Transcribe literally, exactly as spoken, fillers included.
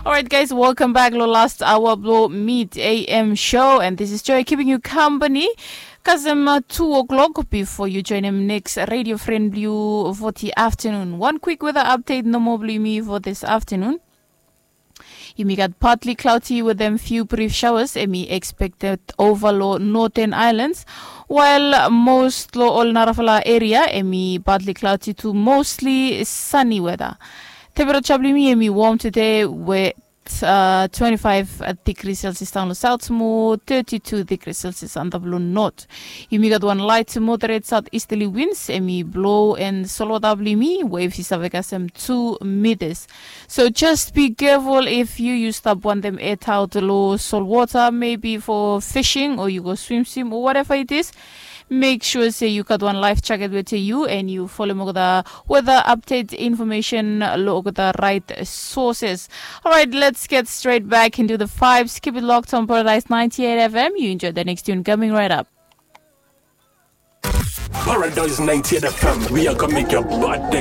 Alright, guys, welcome back lo last hour blo Meet A M show, and this is Joy keeping you company. Kasem uh, two o'clock before you join him next radio friend blue for the afternoon. One quick weather update, no more blue me for this afternoon. Yumi gat partly cloudy with them few brief showers. Emi expected over lo northern islands, while most lo all narafala area emi partly cloudy to mostly sunny weather. Temperature blimi emi warm today with uh, twenty-five degrees Celsius down south, more thirty-two degrees Celsius under blue north. Yumi gat one light to moderate southeasterly winds, emi blow and solwota blimi waves is avekasem two meters. So just be careful if you use stop one them air out low salt water, maybe for fishing or you go swim swim or whatever it is. Make sure say you got one life jacket with you and you follow the weather update information lo the right sources. All right, let's get straight back into the vibes. Keep it locked on Paradise ninety-eight F M. You enjoy the next tune coming right up. Paradise ninety-eight F M, we are gonna make your body